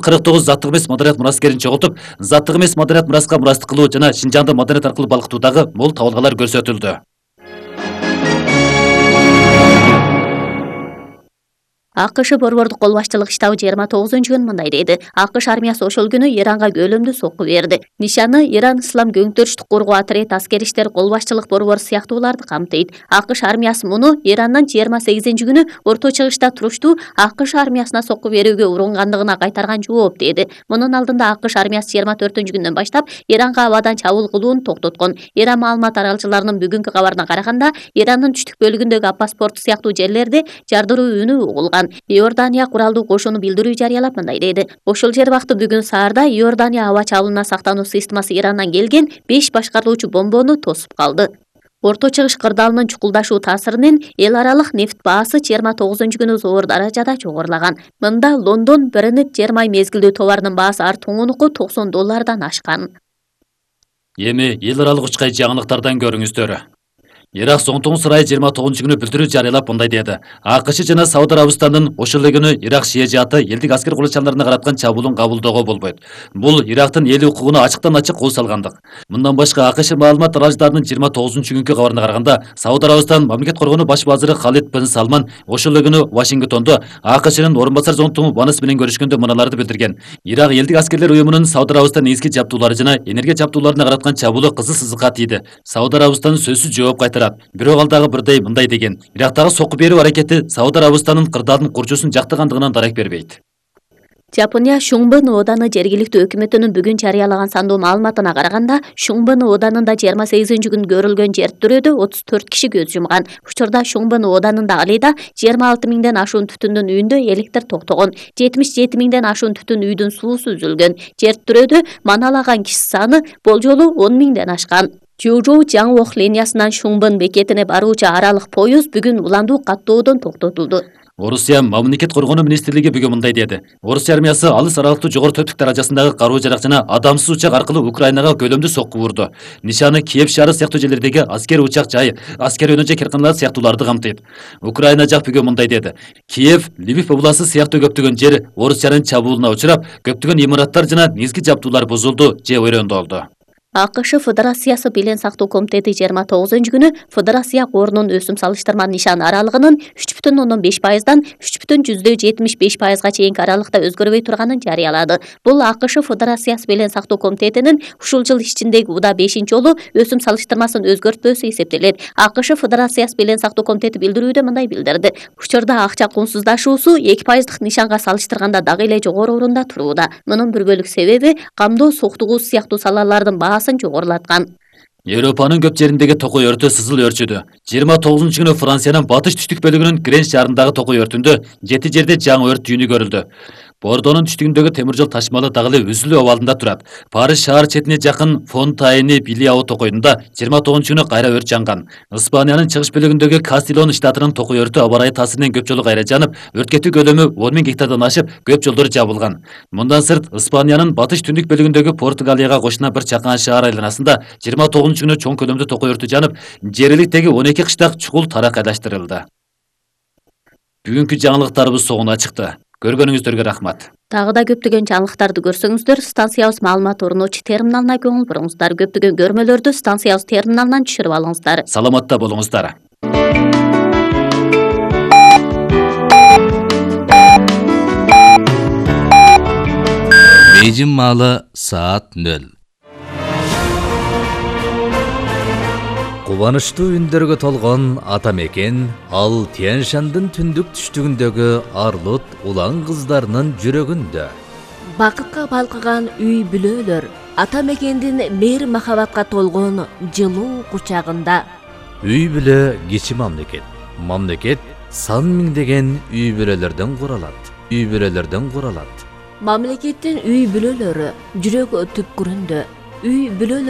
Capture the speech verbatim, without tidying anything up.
кырк тогуз заттык эмес маданият мураскерин чогултуп, заттык эмес маданият мураска мурастык кылуу жана Шинжаңды маданият аркылуу балкытуудагы мол табылгалар көрсөтүлдү. АКШ борбордук кол башчылык штабы жыйырма тогузунчу күнү мындай деди. АКШ армиясы ошол күнү Иранга көлөмдүү сокку берди. Нишаны Иран Ислам көңтөрүштүк коргоо отряд аскер иштер кол башчылык борбору сыяктууларды камтыйт. АКШ армиясы муну Ирандан жыйырма сегизинчи күнү Орто Чыгышта туруштуу АКШ армиясына сокку берүүгө урунгандыгына кайтарган жооп деди. Мунун алдында АКШ армиясы жыйырма төртүнчү күндөн баштап Иранга абадан чабуул кылууну токтоткон. Иран маалымат таралчыларынын бүгүнкү кабарына караганда, Ирандын түштүк бөлүгүндөгү Аппас порту сыяктуу жерлерде жардыруу үнү угулган. Иордания куралдуу кошуну билдирүү жарыялап мындай деди. Ошол жер бакты бүгүн саарда Иордания аба чабуулуна сактануу системасы Ирандан келген беш башкарылуучу бомбону тосуп калды. Орто Чыгыш кырдаалынын чукулдашуу таасиринен эл аралык нефт баасы жыйырма тогузунчу күнү зор даражада жогорулаган. Мында Лондон Брент жер май мезгилдүү товарынын баасы ар туңунуку токсон доллардан ашкан. Эми эл аралык учкай жаңылыктардан көрүңүздөр. Ирак Соңтуң сарайы жыйырма тогузунчу күнү билдирүү жарыялап мындай деди. АКШ жана Сауд Арабистандын ошол эле күнү Ирак шия жааты элдик аскер курулuşlarына караткан чабуулун кабылдоого болбойт. Бул Ирактын эл укугуна ачыктан ачык кол салгандык. Мындан башка АКШ маалымат таралчыларынын жыйырма тогузунчу күнкү кабарына караганда, Сауд Арабистан мамлекет коргонуу баш вазыры Халид бин Салман ошол эле күнү Вашингтондо АКШнын орун басар зонтугу Ванес менен көрүшкөндө мыналарды билдирген. Ирак элдик аскерлер уюмунун Сауд Арабистан эски жабдуулары жана энергия жабдууларына караткан чабуулу кызыл сызыкка тийди. Сауд Арабистан сөзсүз жооп кайтарат. Бирок ал бирдей мындай деген. Ирактагы сокку берүү аракети Сауд Арабистанын кырдаалдын курчусун жактагандыгынан дарек бербейт. Жапония Шуңбын ооданы жергиликтүү өкмөтүнүн бүгүн жарыялаган сандуу маалыматына караганда, Шуңбын оодарында жыйырма сегизинчи күнү көрүлгөн жер тирөөдө отуз төрт киши көз жумган. Учурда Шуңбын оодарында алейда жыйырма алты миңден ашуун түтүндүн үйүндө электр токтогон. жетимиш жети миңден ашуун түтүн үйдүн суусу үзүлгөн. Жер тирөөдө маналаган киши саны болжолу он миңден ашкан. Жужоу Жаңуок линиясынан Шуңбын бекетине баруучу аралык поезд бүгүн уландуу каттоодон токтотулду. Орусия мамлекет коргонуу министрлиги бүгүн мындай деди. Орусия армиясы алыс аралыктуу жогору төптүк даражасындагы каруу жарак жана адамсыз учак аркылуу Украинага көлөмдүү сокку урду. Нишаны Киев шаары сыяктуу жерлердеги аскер учак жай, аскер өнөжө керканалар сыяктууларды камтыйт. Украина жак бүгүн мындай деди. Киев, Львив областы сыяктуу көптөгөн жер Орусиянын чабуулуна учурап, көптөгөн имараттар жана негизги жабдуулар бузулду же ойрөндөлдү. АКШ Федерациясы Билен сактоо комитети жыйырма тогузунчу күнү Федерация корунун өсүм салыштырма нишан аралыгынын үч бүтүн ондон беш пайыздан үч бүтүн жүздө жетимиш беш пайызга чейинки аралыкта өзгөрбөй турганын жарыялады. Бул АКШ Федерациясы Билен сактоо комитетинин ушул жыл ичиндеги уда бешинчи жолу өсүм салыштырмасын өзгөртпөсү эсептелет. АКШ Федерациясы Билен сактоо комитети билдирүүдө мындай билдирди. Учурда акча кунсуздашуусу эки пайыздык нишанга салыштырганда дагы эле жогору орунда турууда. Мунун бир бөлүк себеби камдоо, соктугуу сыяктуу салалардын баасын жогорулаткан. Европанын көп жериндеги токой өртү сызыл өрчүдү. жыйырма тогузунчу күнү Франциянын батыш түштүк бөлүгүнүн Гренч шаарындагы токой өртүндө жети жерде жаңы өрт түйүнү көрүлдү. Бордонун түштүгүндөгү темир жол ташмалы дагы эле үзүлүү абалында турат. Париж шаар четине жакын Фонтайне Билиао токойунда жыйырма тогузунчу күнү кайра өрт жанган. Испаниянын чыгыш бөлүгүндөгү Кастилон штатынын токой өртү аба ырайы таасиринен көп жолу кайра жанып, өрт кетүү көлөмү он миң гектардан ашып, көп жолдор жабылган. Мындан сырт, Испаниянын батыш түндүк бөлүгүндөгү Португалияга кошуна бир чакан шаар айланасында жыйырма тогузунчу күнү чоң көлөмдүү токой өртү жанып, жергиликтеги он эки кыштак чукул таракайлаштырылды. Бүгүнкү жаңылыктарыбыз соңуна чыкты. Көргөнүңүздөргө рахмат. Дагы да көптөгөн жаңылыктарды көрсөңүздөр, станциябыз маалымат орночу терминалына көңүл буруңуздар. Көптөгөн көрмөлөрдү станциябыз терминалынан түшүрүп алыңыздар. Саламатта болуңуздар. Бейжин маалы саат нөл. Кубанычтуу үндөргө толгон ата мекен ал Тянь-Шандын түндүк түштүгүндөгү арлут улан кыздарынын жүрөгүндө. Бакытка балкыган үй бүлөлөр ата мекендин мейир махабатка толгон жылуу кучагында. Үй бүлө кичи мамлекет. Мамлекет сан миңдеген үй бүлөлөрдөн куралат. Үй бүлөлөрдөн куралат. Мамлекеттин үй бүлөлөрү жүрөк түпкүрүндө. Үй бүлөлөр